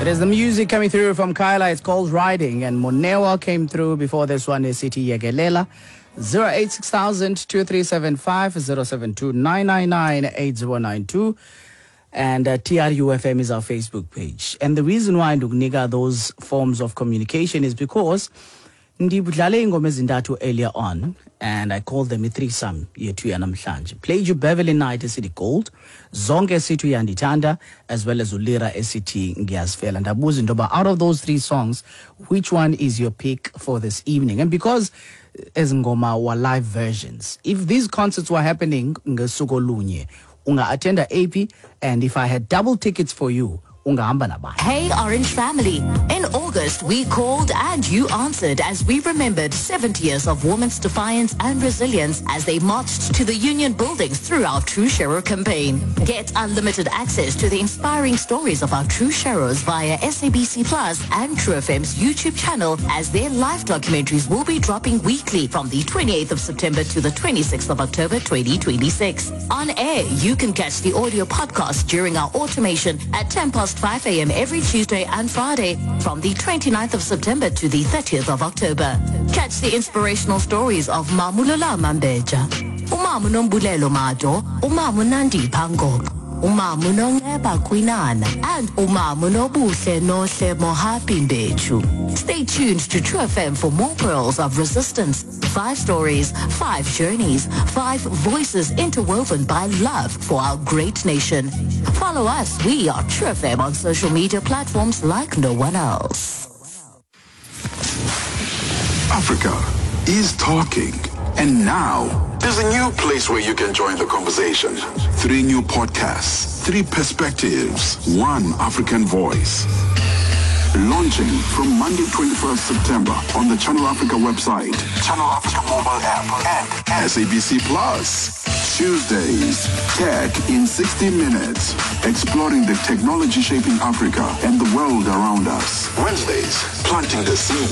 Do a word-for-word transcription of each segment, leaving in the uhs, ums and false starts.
It is the music coming through from Kyla. It's called Riding. And Monewa came through before this one is City Yegelela. zero eight six thousand two three seven five zero seven two nine nine nine eight zero nine two. And uh, T R U F M is our Facebook page. And the reason why ndikunika those forms of communication is because ndidlale ingoma ezintathu earlier on, and I called them i-threesome yethu yanamhlanje. Played you Beverly Knight esithi Gold, Zonke esithi Uyandithanda, as well as uLira esithi Ngiyazifela. Ndabuza into yoba out of those three songs, which one is your pick for this evening? And because ezi ngoma were live versions, if these concerts were happening ngosuku olunye, unga-attenda A P, and if I had double tickets for you, ungahamba nabani. Hey Orange family, in August we called and you answered as we remembered seventy years of women's defiance and resilience as they marched to the union buildings through our True Sharer campaign. Get unlimited access to the inspiring stories of our True Sharers via S A B C Plus and True F M's YouTube channel, as their live documentaries will be dropping weekly from the twenty-eighth of September to the twenty-sixth of October twenty twenty-six. On air, you can catch the audio podcast during our automation at ten past five a m every Tuesday and Friday from the twenty-ninth of September to the thirtieth of October. Catch the inspirational stories of Mamulola Mambeja, Umamu Nombulelo Mado, Umamu Nandi Pangok, Umamu Nongeba Kwinana, and Umamu Nobuhle Nohle Mohapi Mbechu. Stay tuned to True F M for more pearls of resistance. Five stories, five journeys, five voices interwoven by love for our great nation. Follow us. We are True F M on social media platforms like no one else. Africa is talking. And now, there's a new place where you can join the conversation. Three new podcasts, three perspectives, one African voice. Launching from Monday twenty-first September on the Channel Africa website, Channel Africa mobile app, and S A B C Plus. Tuesdays, Tech in sixty minutes, exploring the technology shaping Africa and the world around us. Wednesdays, planting the seed,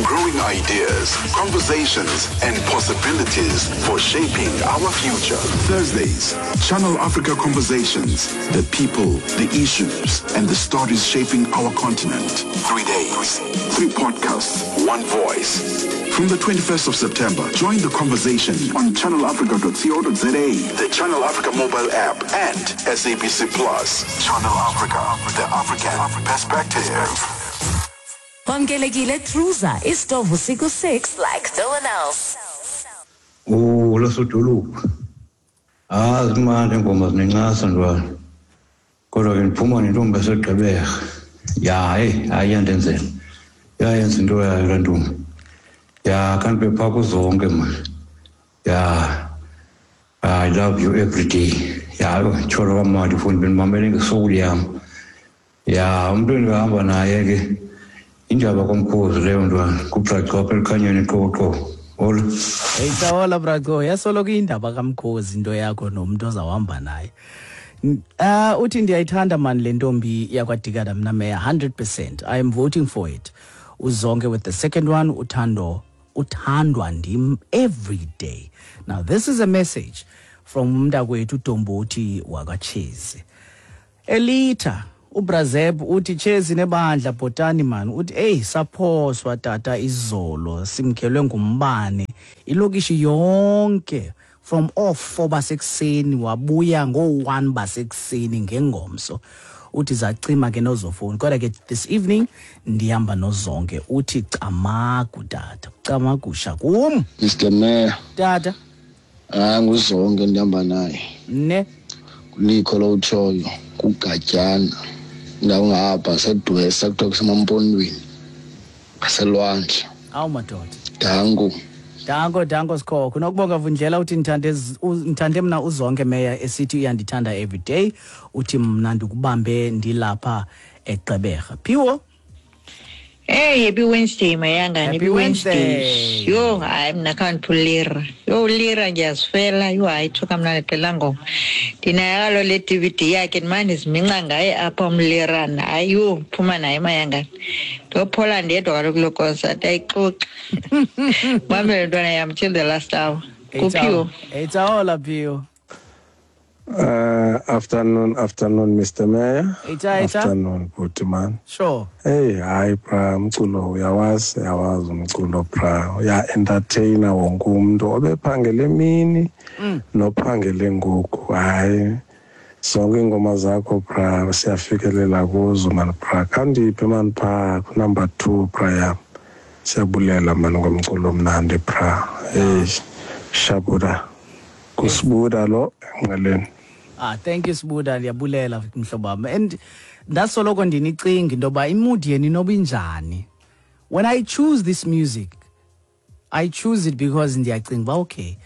growing ideas, conversations, and possibilities for shaping our future. Thursdays, Channel Africa Conversations, the people, the issues, and the stories shaping our continent. Three days, three podcasts, one voice. From the twenty-first of September, join the conversation on channel africa dot co dot za, the Channel Africa mobile app, and S A B C Plus. Channel Africa, the African perspective. Wamkelekile Truza, isitovu siku six like no one else. Oh, lasodolophu. Ah, zimandi ingoma zinencasa ntwana. Kodwa ke ndiphuma nentombi yaseGqeberha. Ya, hey, hayi iyandenzela. Iyayenza into yayo laa ntombi. Ya, kanti bephaa kuzonke man. Ya, I love you every day. Ya, tyholo kamandi ifowuni bendimamele ngesoul yam. Ya, umntu endihamba naye ke indaba komkhozi leyo ntwana, kuBraco apha elukhanyweni eQoqo. Hola. Hey, hola Braco. Yasoloko indaba kamkhozi into yakho nomntu ozawuhamba naye. Uh, uthi ndiyayithanda man le ntombi yakwaDikana mna meya hundred percent. I am voting for it. Uzonke with the second one, uthando, uthandwa ndim every day. Now this is a message from umntakwethu uDombothi wakwaChezi. Elita uBrazeb uthi Chezi nebandla bhotani man, uthi hey saphoswa tata izolo simkhelwe ngumbane ilokishi yonke from off four basekuseni wabuya ngo one basekuseni ngengomso. Uthi zacima ke nozofoni, kodwa ke this evening ndihamba nozonke. Uthi camagu tata, camagusha kum Mister Mayor. Tata. Ah, nguzonke ndihamba naye. Ne kulikho lo utshoyo kugatyana ndawo ngapha sedwesa kuthiwa kusemampondweni ngaselwandle. Awu madoda. Danko. Danko, danko Sikhokho. Nokubonga Vundlela uthi ndithande ndithande mna uzonke meya esithi uyandithanda every day. Uthi mna ndikubambe ndilapha eGqeberha. Phiwo. Hey, happy Wednesday mayangane. Happy Wednesday. Yo, hayi mna khandiphulira. Yo lira ngiyazifela. Yo hayi thuka mna lecela ngoma. Ndinayo le D V D yakhe ndimane ndiziminca ngaye apha umlirana. Hayi yo phuma naye mayangane. Ndophola ndedwa kaloku kuloo concert ayixoxi. Mamele ntwana yam till the last hour. Kuphiwo. It's all up you. Uh, afternoon, afternoon, Mister Mayor. Ita, ita. Afternoon, bhuti man. Sure. Hey, hayi bra, umculo uyawazi, uyawazi umculo bra. Uya-entertaina wonke umntu obephangele emini nophangele ngoku. Hayi, zonke iingoma zakho bra siyafikelela kuzo man bra. Khandiphe man phaa ku-number two bra yam. Siyabulela man ngomculo omnandi bra. Hey, shabuda. Kusibuda lo enqeleni. Ah, thank you Sibuda, ndiyabulela mhlobo wam. And ndasoloko ndinicinga into yoba imood yenu inoba injani. When I choose this music, I choose it because ndiyacinga uba okay,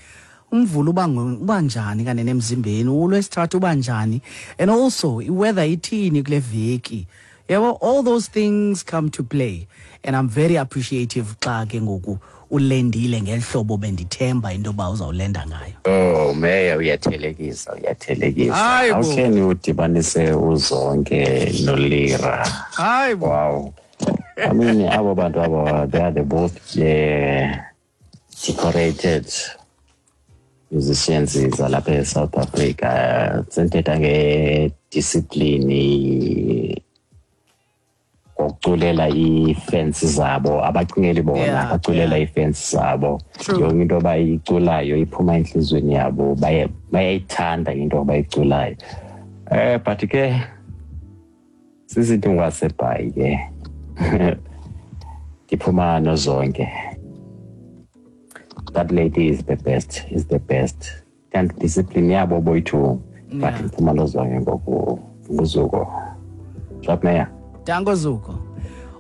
umvulo uba uba njani kanene emzimbeni, ulwesithathu uba njani, and also iweather ithini kule veki. Yabo, all those things come to play, and I'm very appreciative xa ke ngoku ulendile ngeli hlobo bendithemba into yoba uzawulenda ngayo. Oh, Mayor, uyathelekisa, uyathelekisa. Hayi How bo. can you udibanise uZonke noLira? Hayi bo. Wow. I mean, abo bantu abo, they are the both uh, decorated musicians zalapha eSouth Africa. Senthetha ngediscipline, ngokuculela ii-fans zabo, abacingeli bona, Yeah, baculela yeah. ii-fans zabo. True. Yonke into abayiculayo iphuma entliziyweni yabo, baye bayayithanda into abayiculayo. Eh but ke sizinto ngwasebhayi ke ndiphuma noZonke. That lady is the best, is the best. And discipline yabo boyi-two, but Yeah. ndiphuma noZonke ngoku nguZuko. Drop Mayor. Danko Zuko.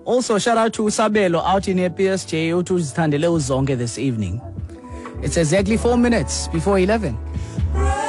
Also, shout out to Usabelo out in P S J uthi uzithandele uZonke this evening. It's exactly four minutes before eleven.